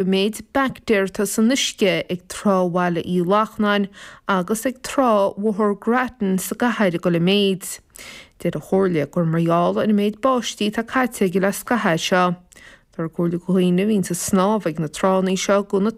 An méid baictéar atá san uisce ag Trá Bhaile Uí Lachnáin agus ag Trá Bhóthar Grattan sa gcathair ag dul i méid. Deir an Chomhairle gur mar gheall ar an méid báistí atá caite aige le scaitheamh é seo. Tá ag comhairle do dhaoine a bhíonns ag snámh ag na tránna seo gan na.